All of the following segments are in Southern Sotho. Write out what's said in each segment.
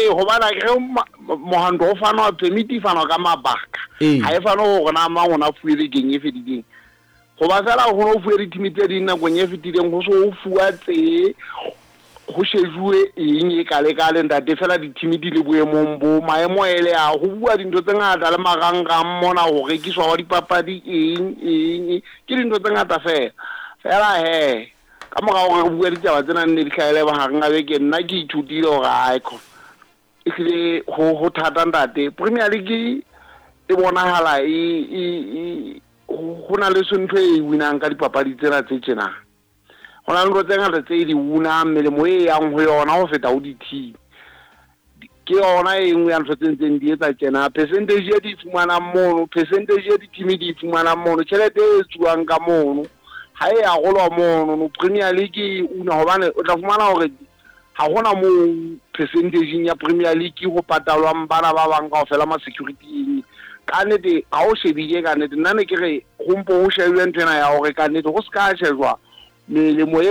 Ee, hobane akere mohwanto o fanwa, permit e fanwa ka mabaka. Ee. Ha e fanwe hore na mang o na fuwe bekeng e fetileng. Hoba feela ho no fuwe di-team tse ding nakong e fetileng, ho so ho fuwa tse ho shejuwe eng e kale-kale ntate, feela di-team di le boemong bo maemo ele a ho bua dintho tse ngata le marangrang mona, ho rekiswa hwa dipapadi eng eng eng, ke dintho tse ngata feela. Feela hee ka mora hore re bue ditaba tsena nne di hlahele mahareng a beke, nna ke ithutile hore ae ehlile ho thata ntate. Premier League e bonahala e e e ho na le ntho e winang ka dipapadi tsena tse tjena. Ho na le ntho tse ngata tse di unang, melemo e yang ho yona ho feta ho di-team. Ke yona e nngwe ya ntho tse ntseng di etsa tjena. Percentage e di fumanang mono, percentage e di-team di fumanang mono, tjhelete e etsuwang ka mono ha e arolwa mono no. Premier League e una hobane o tla fumana hore ha hona moo percentage ya Premier League ho patalwang bana ba bang kaofela ma security eng. Ka nnete ha o shebile, ka nnete nna ne ke re ho mpo ho shebile ntho ena ya hore ka nnete ho ska shejwa melemo e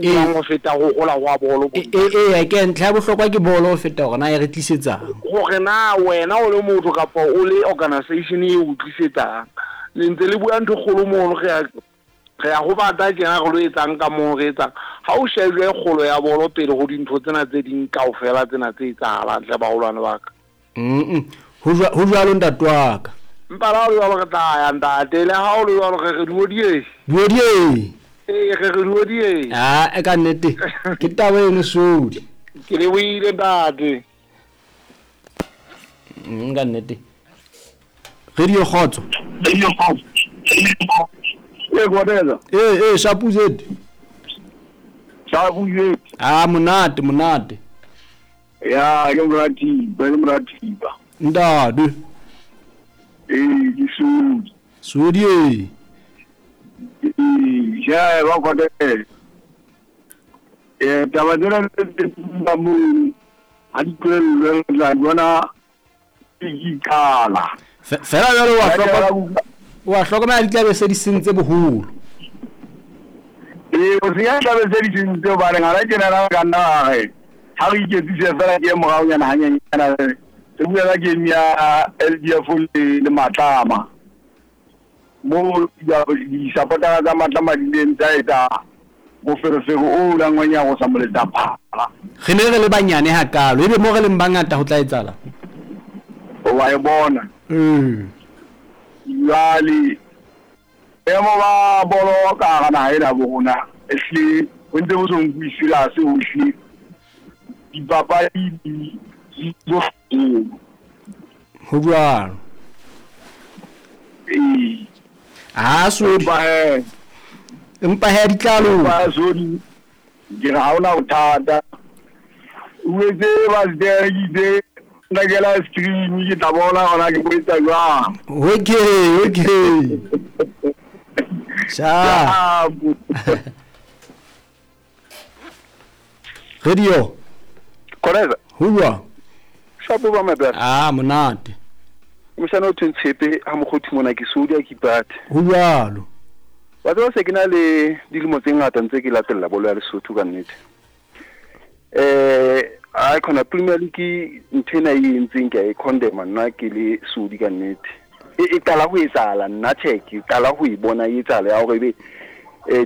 unwang ho feta ho hola hwa bolo. Eya, ke ntlha ya bohlokwa ke bolo ho feta hore na e re tlisetsang. Hore na wena o le motho kapa o le organisation e o tlisetsang, le ntse le bua ntho e kgolo mono, re ya ho bata tjena, re lo etsang ka moo re etsang. Ha o shejwe kgolo ya bolo pele ho dintho tsena tse ding kaofela tsena tse etsahalang hle baholwane ba ka. Ho jwalo ntate wa ka. Empa le ha o le jwalo re tla ya ntate, le ha o le jwalo re re duodie. Duodie. Ee, re re duodie. Ah, ka nnete ke taba eno sodi. Ke lebohile ntate. Ka nnete. Radio Kgotso. Radio Kgotso. Ee, Kgotso. Ee, Shapu Z. Shapu Z. Ah, monate, monate. Ya, ke moratiba, ke moratiba. Ntate. Ee, ke Sodi. Sodi e. Ee, ja, ba Kgotso. Taba tsena tse ba moo ha di tlohellwe, re tla bona di qala. Fela jwale wa hlokomela di tlabe se di sentse boholo. Ee, o senya tlabe se di sentse hobane ngwana tjena na ka nna re ha re iketsise fela ke moraonyana hanyenyana re bua ka game ya LDF le Matlama. Mo di-supportera tsa Matlama di ileng tsa etsa moferefere o langwang ya go sa moletsa phala. Re ne re le banyane hakalo, ebe mo re leng bangata ho tla etsahala. Wa e bona. Jwale boemo ba bolo ka hara naha ena bo rona ehlile ho ntse bo so nkuwe serious hohle. Dipapadi di bohloko. Ho jwalo. Ee. Ah, Sodi. Empa he di tla loka. Empa Sodi, ke re ha hona bothata. O etse ba se rekela ice cream, ke tla bona hona ke etsa jwang. Okay, okay. Sha. Radio. Koreza. Ho jwang? Shapo ba my brother. Ah, monate. Moshana o tshepe ha mokgothi mona ke Sodi a kipate. Ho jwalo. Wa tseba se ke na le dilemo tse ngata ntse ke latella bolo ya Lesotho ka nnete. A khona Premier League ntho ena e entseng ke a e condemn nna ke le Sodi ka nnete. E qala ho etsahala nna check, e qala ho e bona e etsahala ya hore ebe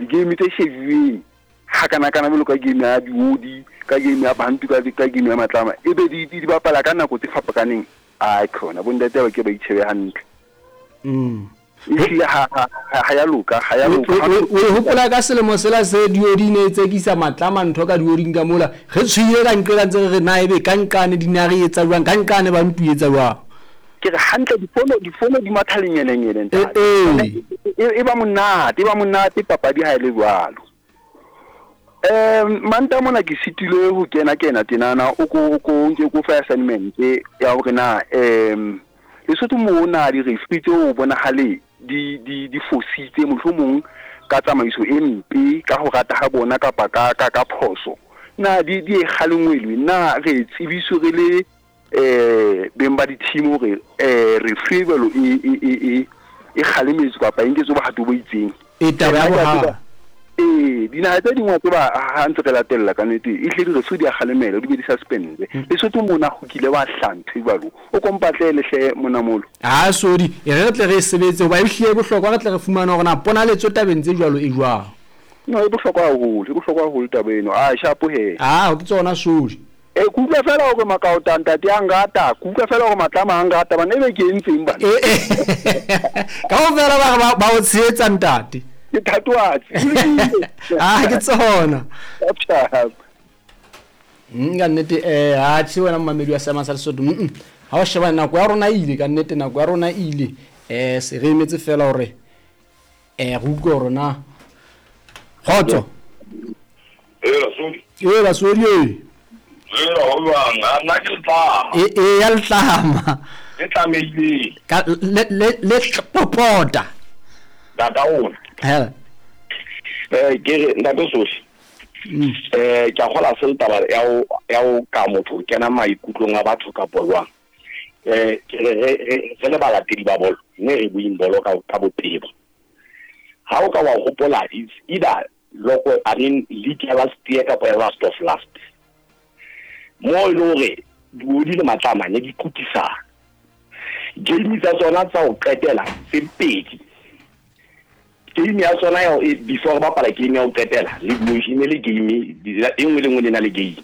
di-game tse shebuweng ha kana kana jwalo ka game ya Diodi, ka game ya Bantu, ka game ya Matlama ebe di bapala ka nako tse fapakaneng. Ai khona bo ntate ba ke ba itshebe hantle. Ehlile ha ya loka, ha ya loka. O hopola ka selemo sela se Diodi ne tsekisa Matlama ntho ka Dioding ka mola. Re tshwile ka nqela ntse re na ebe ka nqane dinare etsa jwang, ka nqane ba ntu etsa jwang. Ke re hantle difono di matha lenyenenyene ntate. E ba monate, e ba monate papadi ha e le jwalo. Manta mona ke sitilwe ho kena tenana o ko nke ko fa assignment ya hore na Lesotho mo na di referee tseo bonahale di fositse mohlomong ka tsamaiso e mpe ka ho rata ha bona kapa ka phoso. Na di e kgalengwelwe, na re tsebiswe re le beng ba di-team hore referee jwalo e kgalemetswe kapa e nketswe bohato bo itseng. E taba ya bohata. Ee, dinaha tse ding wa tseba ha ntse re latella ka nnete e hle di re so di a kgalemela di be di suspendwe. Lesotho mona ho kile wa hlaha ntho e jwalo. O ko mpatlele hle monamolo. Aa Sodi, e re re tle re e sebetse hoba ehlile e bohlokwa re tle re fumane hore na ponaletso tabeng tse jwalo e jwang. No, e bohlokwa haholo, e bohlokwa haholo taba eno. Aa shapo hee. Aa ke tsona Sodi. E, ke utlwa fela hore makaota ntate a nrata, ke utlwa fela hore matlama a nrata bana ebe ke entseng bana. E, e, kaofela ba re ba o tshehetsa ntate. Ke thatohatsi. Ah, ke tsona. Sharp sharp. Ka nnete eh ha tjhe wena momamedi wa seema sa Lesotho. Mm. Ha o sheba nako ya rona e ile ka nnete nako ya rona e ile. Eh se re emetse fela hore eh re utlwe hore na kgotso. Ee, Rasodi. Ee, Rasodi ee. Ee, ho jwang? A nna ke letlama. Ee, ee, ya letlama. Le tlamehileng. Ka le le le popota. Tata rona. Hela. Eh, ke re ntate Sohle. Eh, ke a kgola se le taba ya ho ya ho ka motho o kena maikutlong a batho kapo jwang. Eh, ke re re re le balatedi ba bolo, mme re bueng bolo ka ka botebo. Ha o ka wa hopola it's either loko I mean league ya last year kapa ya last of last. Mo e le hore diodi le matlama ne di kutisana. Game tsa tsona tsa ho qetela tse pedi. Game ya tsona ya e, before re bapala game ya ho qetela le e ne le game e nngwe le nngwe le na le game.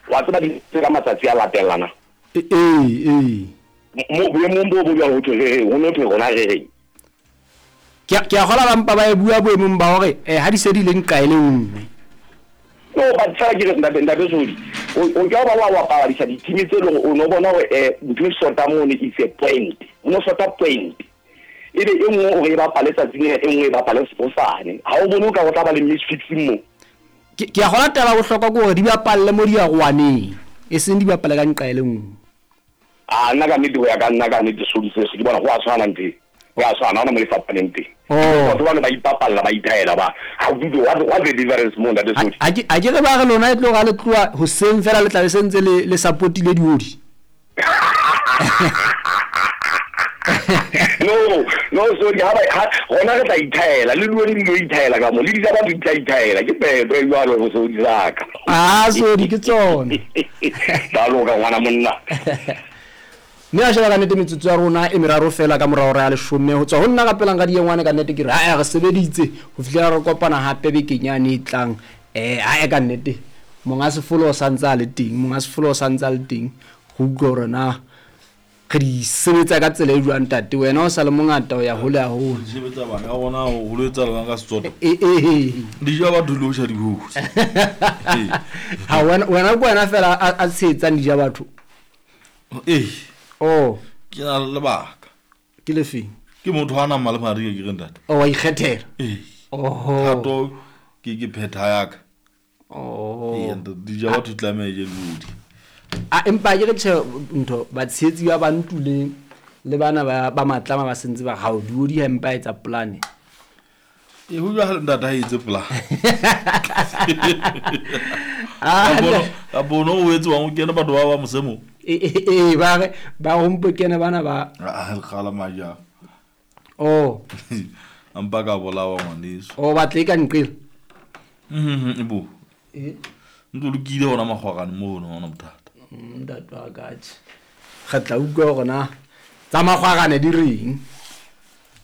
Wa tseba di ka matsatsi a latellana. Ee, ee. Mo boemong bo bo jwalo ho thwe re reng, ho no thwe rona re reng. Ke a, ke a kgola ba mpa ba e bua boemong ba hore eh, ha di se di le nqa e le nngwe. No, but fela ke re ntate, ntate Sodi, o, o ka ba wa bapadisa di-team tse leng o no bona hore eh, ntho e shota mono is a point. O no shota point. Ebe e nngwe o re e bapale tsatsing lena, e nngwe e bapale hosane. Ha o bone o ka ho tla ba le misfixing mo? Ke, ke a kgola taba ya bohlokwa ke hore di bapalle mo diarowaneng, e seng di bapale ka nqa e le nngwe. A nna ka nnete ho ya ka nna ka nnete Sodi seso ke bona ho a tshwana ntho e. Ho a tshwana, ha hona mo e fapaneng teng. Oh. Batho bano ba ipapalla ba ithaela ba. How do you, what, what's the difference mo ntate Sodi? A ke, a ke re ba re lona e tlo ra le tloha hoseng fela le tla be se ntse le, le supportile diodi. No, no Sodi ha ba ha rona re tla ithaela le diodi di tlo ithaela ka mo le di tsa batho di tla ithaela ke pepe jwalo go Sodi saka. Ah Sodi ke tsona. Ba loka ngwana monna. Mme a sheba ka nnete metsotso ya rona e meraro fela ka mora hora ya leshome ho tswa ho nna ka pelang ka diengwane ka nnete ke re ae re sebeditse ho fihlela re kopana hape bekeng yane e tlang eh ae ka nnete monga sefolo o santse a le teng monga sefolo o santse a le teng go utlwa hore na re di sebetsa ka tsela e jwang ntate wena o sa le mongata o ya hole haholo sebetsa bana ya rona ho lo etsa lona ka Setsotho e e di ja batho le ho ja dikgosi ha wena wena ke wena fela a tshehetsang di ja batho ee oh ke na le lebaka ke lefeng ke motho a nang le madi ke re ntate oh wa ikgethela ee oho thato ke ke phetha yaka oh ee ntate di ja batho tlameha e je lodi a empa ke re tjhe ntho batshehetsi ba bantuleng le bana ba ba matlama ba sentse ba ga o di ha empa etsa plan ee ho jwale ntate ha etse plan ah ka bono o etswang o kene batho ba ba mosemo ee ba re ba rompo kene bana ba a re kgala maja oh a mpa ka bolawa ngwaneso o batla e ka nqela Mhm, bo Eh. ntlo lokile gona magwagane mono ga ona bothata ntate wa ka tjhe re tla utlwa hore na tsa magwagane di reng.